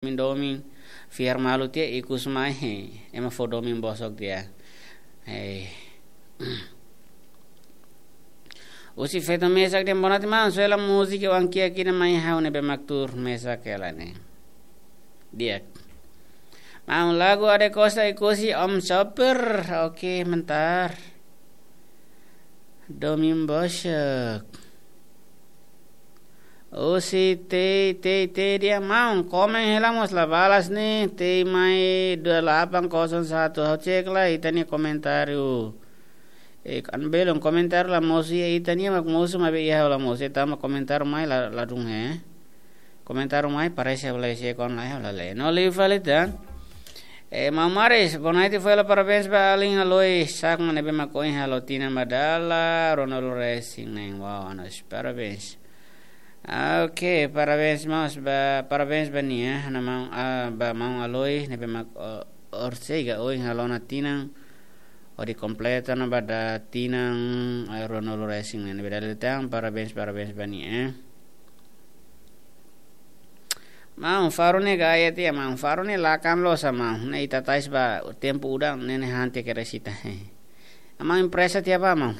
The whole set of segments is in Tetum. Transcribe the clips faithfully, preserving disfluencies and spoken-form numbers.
domin domin, fiar malu tiha ikus mai, he, ema fó domin bosok tiha. He. Husi feto mesak dehan boa noite maun, soe hela múzika Oan Kiak ida mai ha'u ne'ebé mak tuur mesak hela ne'e. Di'ak. Maun, lagu Ade Costa Ikusi Om Sopir. Oke, mentar. Domin bosok. Husi T T T dehan maun, komen hela mós la balas ne'e, T mai dua delapan kosong satu, ha'u cek lai ita-nia komentáriu. Eh, kan belum komentáriu la mosu iha ita-nia, mak mosu maibé iha ha'u la mosu, tanba komentáriu mai la, ladún he. Komentáriu mai parese ha'u la isi kon la, ha'u la lee. No liu fali tan. Eh, maun Maris, boa noite, fó hela parabéns ba alin Aloi Sakma ne'ebé mak ohin halo tinan ba dala ruanulu-resin-neen. Wow, anos, parabéns. Ah, oke, parabéns mós ba, parabéns ba nia, ha'u-nia maun, ah, ba maun Aloi ne'ebé mak, oh, horisehik ohin halo ona tinan, hodi kompleta ona ba dala tinan, eh, ruanulu-resin-neen. Ne'ebé dala ida tan, parabéns, parabéns ba nia, eh. Maun, faru ne'e gaya tiha, maun, faru ne'e lakan loos, maun. Ne'e ita tais ba tempu udan, ne'e ne'e han tiha kedas ita. Maun, impresa tiha ba, maun.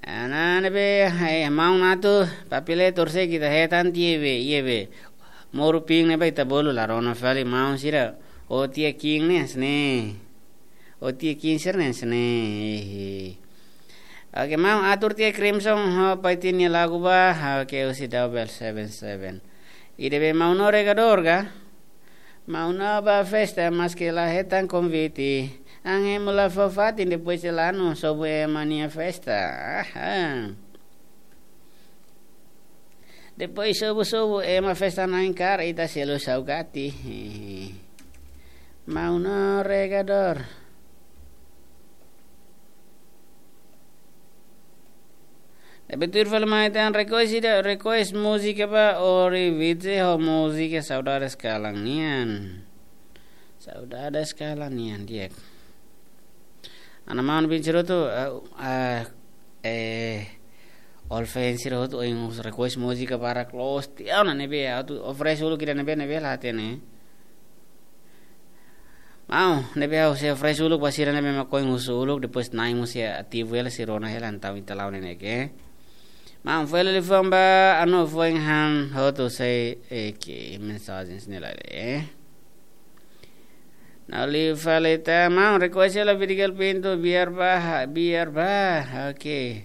Ana ne'ebé, eh, maun atu, papile torse kita hetan tiha be, iha be. Moru ping ne'ebé ita bolu la rona fali, maun sira. O tiha king ne'e, sne. O tiha king sira ne'e, sne. Oke, maun, atur tiha Crimson, ho pai tiha nia lagu ba, oke, husi Double Seven Seven. Ida be maun no regador ga? Maun no ba festa, maske la hetan konvite. An ema la fó fatin, depois de lanu, sobu ema nia festa. Aha. Depois sobu-sobu, ema festa na'in karik, ita selu saugati. Maun no regador. Ne'ebé tuir fali mai tan request ida, request múzika ba Ori Vitze ho múzika Saudades Kalan Nian. Saudades Kalan Nian, di'ak. Ana maun bin sira hotu, eh, eh, all fans sira hotu, ohin request múzika para close. Tiha ona ne'ebé, atu oferese uluk ida ne'ebé, ne'ebé la hatene. Maun, ne'ebé ha'u sei oferese uluk ba sira ne'ebé mak ohin husu uluk, depois na'in mós sei ativu hela, sei rona hela entaun ita la'o ne'e ke. Maun, fó hela liafuan ba, anu, foin han hotu sei, eh, ke mensagens ne'e la, eh. No liu fali tan, maun, request hela Vidigal Pinto, Biar Ba, Biar Ba, oke.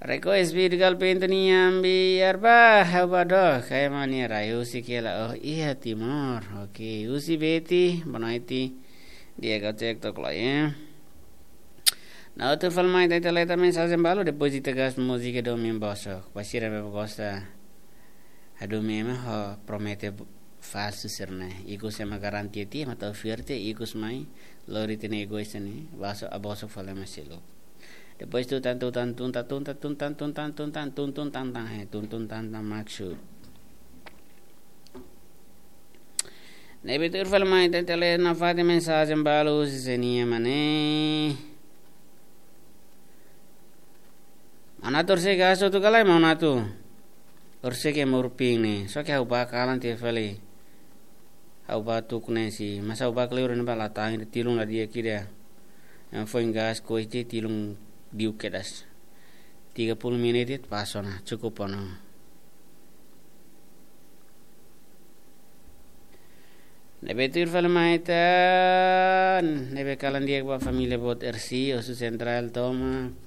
Request Vidigal Pinto nian Biar Ba, ha'u ba dook, kayak mani rai husi kela, oh iha Timor, oke, husi Beti, boa noite, di'ak, ha'u cek tok lai, eh. No tuir fali mai tan, ita lee tan mensajen balu, depois ita gas múzika domin bosok, ba sira ne'ebé gosta. Adu mema ho promete falsu sira-ne'e. Ikus ema garantia tiha, ema tau fiar tiha, ikus mai, lori tiha ne'e egois ne'e, baso, aboso fali ema seluk. Depois tu tan, tu tan, tun tan, tun tan, tun tan, tun tan, tun tan, tun tun tan tan, he, tun tun tan tan maksud. Ne'ebé tuir fali mai tan, ita lee nafatin mensajen balu husi sira-nia mane. Maun atu horisehik gas hotu ka lae, maun atu? Horisehik iha Moru Pink ne'e. Só ke ha'u ba kalan tiha fali. Ha'u ba tuku ne'e si. Mas ha'u ba kleur ne'e ba la tan, tilun la di'ak ida. Yang foin gas koite tilun diuk kedas. Tiga puluh menit de'it pas ona, cukup ona. Ne'ebé tuir fali mai tan, ne'ebé kalan di'ak ba família boot R C, husu sentrál tomak.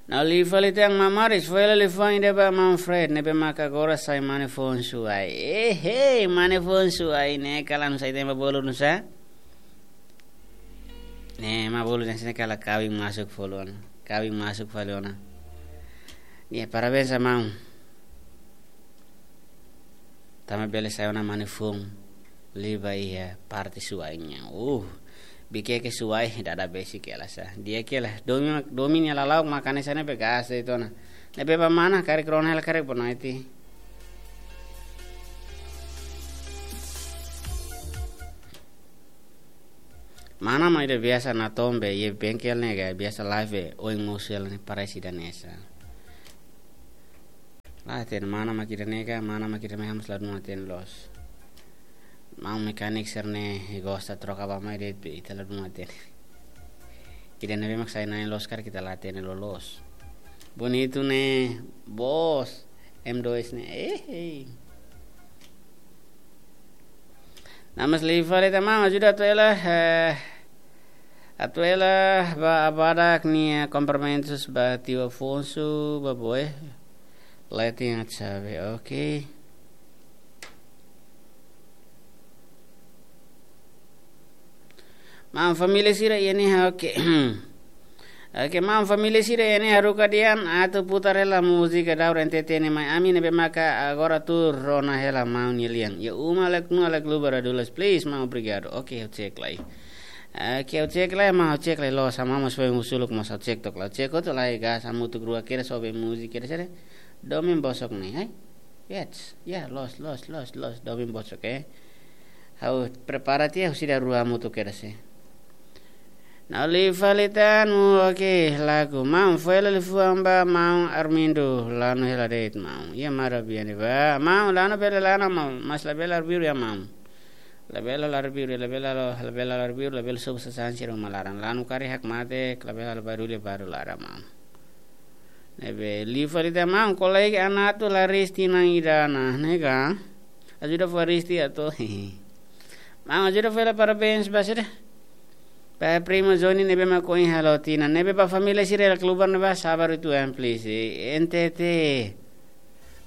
No liu fali tan maun Maris, fó hela liafuan ida ba maun Fred, ne'ebé maka agora sai mane foun suai. Eh, hey, mane foun suai ne'e kalan sai tema bolu nusa. Ne'e, maun bolu dan sini kala kawin masuk fali ona. Kawin masuk fali ona. Nia, parabéns ba maun. Tanba bele sai ona mane foun. Liu ba iha parte suai nian. Uh, bikin ke suai, dada besi kela sa. Di'ak kela. Domin, domin nia lala'ok makane sana be gas itu ona. Ne'ebé ba mana, karik rona hela karik bonaiti. Mana mai de biasa na tombe, iha bengkel ne'e ga, biasa live, oin mosu hela ne'e parese ida hanesan. Ah, ten mana mak ida-ne'e ka, mana mak ida-ne'e, ha'u mós la dún hatene loos. Maun mekanik sira-ne'e gosta troka ba mai de'it be ita la dún hatene. Ida-ne'ebé mak sai na'in loos karik ita la hatene loloos. Bonitu ne'e, bos. M dois ne'e. Eh, eh. Namas liu fali tan maun, ajuda atu hela, eh, atu hela ba Abadak nia komprimentus ba tiu Afonso, ba boe. Letin at sabe, oke. Maun família sira iha ne'e, oke. Oke, maun família sira iha ne'e, haruka dehan atu putar hela múzika Daur N T T ne'e mai ami ne'ebé maka agora tuur rona hela maun nia lian. Iha uma laek nua laek lubar adulas, please, maun, obrigadu. Oke, ha'u cek lai. Oke, ha'u cek lai, maun, ha'u cek lai loos, maun mós foin husu uluk mós ha'u cek took lai. Cek hotu lai gas, hamutuk rua kedas, obe múzika kedas, sere. Domin bosok ne'e, hai? Yes, ya, loos, loos, loos, loos, domin bosok, eh. Ha'u prepara tiha, husi ida rua hamutuk kedas, eh. Na'in liu fali tan, oke, lagu. Maun, foin hela liafuan ba maun Armindo, lanu hela de'it maun. Iha mara biani ba. Maun, lanu bele lanu maun, mas labele arbiru ya maun. Labele la arbiru, labele la, labele la arbiru, labele sobu sasán sira uma laran. Lanu karik hakmatek, labele la barullu barullu laran maun. Ne'ebé liu fali tan maun, kolega Anato la resti nang idana, ne'e ka? Ajuda fó resti atu. Maun, ajuda fó hela parabéns ba sira. Ba primo Johnny ne'ebé mak ohin halo tinan. Ne'ebé ba família sira hela keluar ne'ebá sabar uitoan, please. Eh, N T T.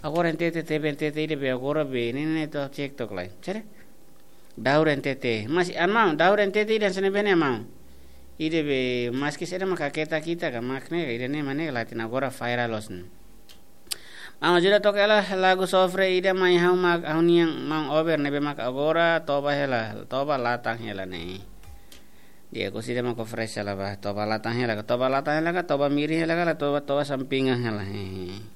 Agora N T T, T V N T T ida be agora be. Ne'e, ne'e, ne'e, to'o cek took lai. Sere? Daur N T T. Mas, an maun, Daur N T T ida hanesan ne'ebé ne'e maun. Ida be, maski sira mak haketa kita ka mak ne'e, ida-ne'e mak ne'e la hatene, agora viral loos ne'e. Maun ajuda toka hela lagu sofre ida mai ha'u mak, ha'u-nian maun Ober ne'ebé mak agora toba hela, toba latan hela ne'e. Di'ak, husi ida mak oferese hela ba, toba latan hela ka, toba latan hela ka, toba mirin hela ka, la toba, toba sampingan hela. Hehe.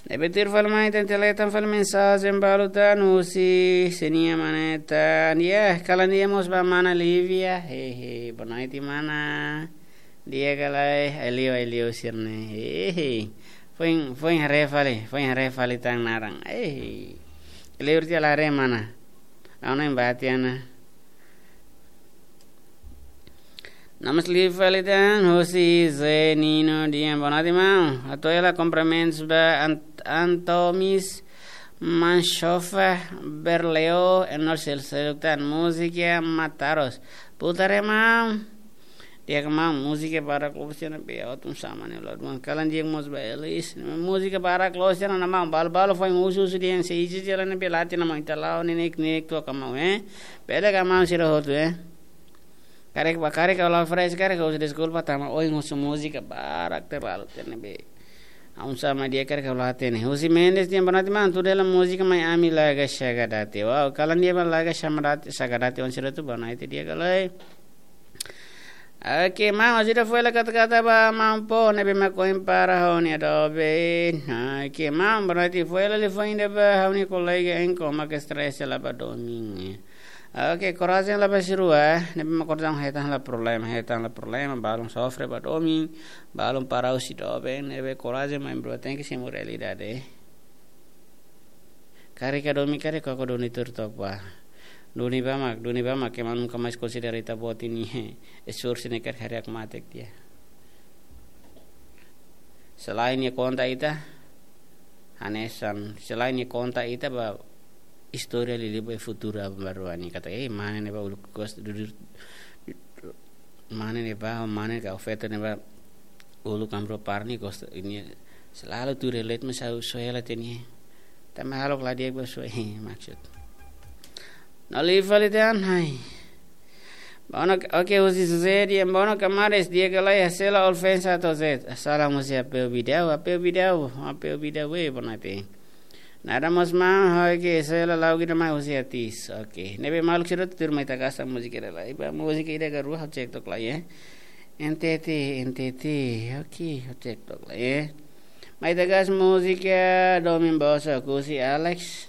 Ne'ebé tuir fali mai, tente lee tan fali mensajen balu tan husi sira-nia mane tan. Ya, kalan di'ak mós ba mana Lívia. Hehe, boa noite, mana. Di'ak ka lae, ai-liu, ai-liu sira-ne'e. Hehe. Foin, foin haree fali, foin haree fali tan naran. Hehe. Liur tiha la haree mana. Ha'u-nia batiana. Namas liu fali tan, husi Zé Nino dehan boa noite, maun. Atu hela kumprimentus ba Ant-, Antomis Manchofa Berleo, enor sel seluk tan múzika Mataros. Putar ya, maun. Di'ak maun, múzika barak loos sira-ne'e be, ha'u hatún sama ne'e la dún. Kalan di'ak mós ba Elis. Múzika barak loos sira-ne'e maun, balu-balu foin husu-husu dehan se ije jela ne'e be la hatene maun, ita la'o ne'e nek-nek toka maun, eh. Bele ka maun sira hotu, eh. Karik ba, karik ha'u la fresh, karik ha'u husu deskulpa tanba ohin husu múzika barak terlalu tiha ne'ebé. Ha'u sama di'ak, karik ha'u la hatene. Husi Mendes dehan boa noite maun, tuur hela múzika mai ami Laga Sagadate. Wow, kalan di'ak ba Laga Sagadate, Sagadate oan sira hotu, boa noite, di'ak ka lae. Oke, maun, ajuda fó hela kata-kata ba maun Pó ne'ebé mak ohin para ha'u-nia doben. Oke, maun, boa noite, fó hela liafuan ida ba ha'u-nia kolega Enko mak stress hela ba domin. Oke, korajen la ba sira rua, ne'ebé mak korajen hetan la problema, hetan la problema, balun sofre ba domin, balun para husi doben, ne'ebé korajen maibé tenke simu realidade. Karik ka duni, karik ka duni tuur took ba. Duni ba mak, duni ba mak, ema nunka mais konsidera ita-boot nia esforsu ne'e karik haree hakmatek tiha. Selain nia konta ita, hanesan, selain nia konta ita ba istória liuliu ba futuru aban-bainrua nian katak, eh, mane ne'ebá uluk gosta dudur, mane ne'ebá, mane ka feto ne'ebá uluk amro parni gosta nia selalu tuur relate, mas ha'u só hela tiha nia. Tanba hahalok la di'ak ba só, eh, maksud. Na'in liu fali tan, hai. Bono, oke, husi José dehan bono kamares, di'ak ka lae, Sela Olfensa to Zet. Salam husi Apeu Bidau, Apeu Bidau, Apeu Bidau, eh, boa noite. Nada mós maun, oke, Sela la'o ida mai husi Atis. Oke, ne'ebé maluk sira tuur mai ita gasta múzika ida lai. Ba múzika ida ka rua, ha'u cek took lai, eh. N T T, N T T, oke, ha'u cek took lai, eh. Mai ita gasta múzika domin bosok husi Alex.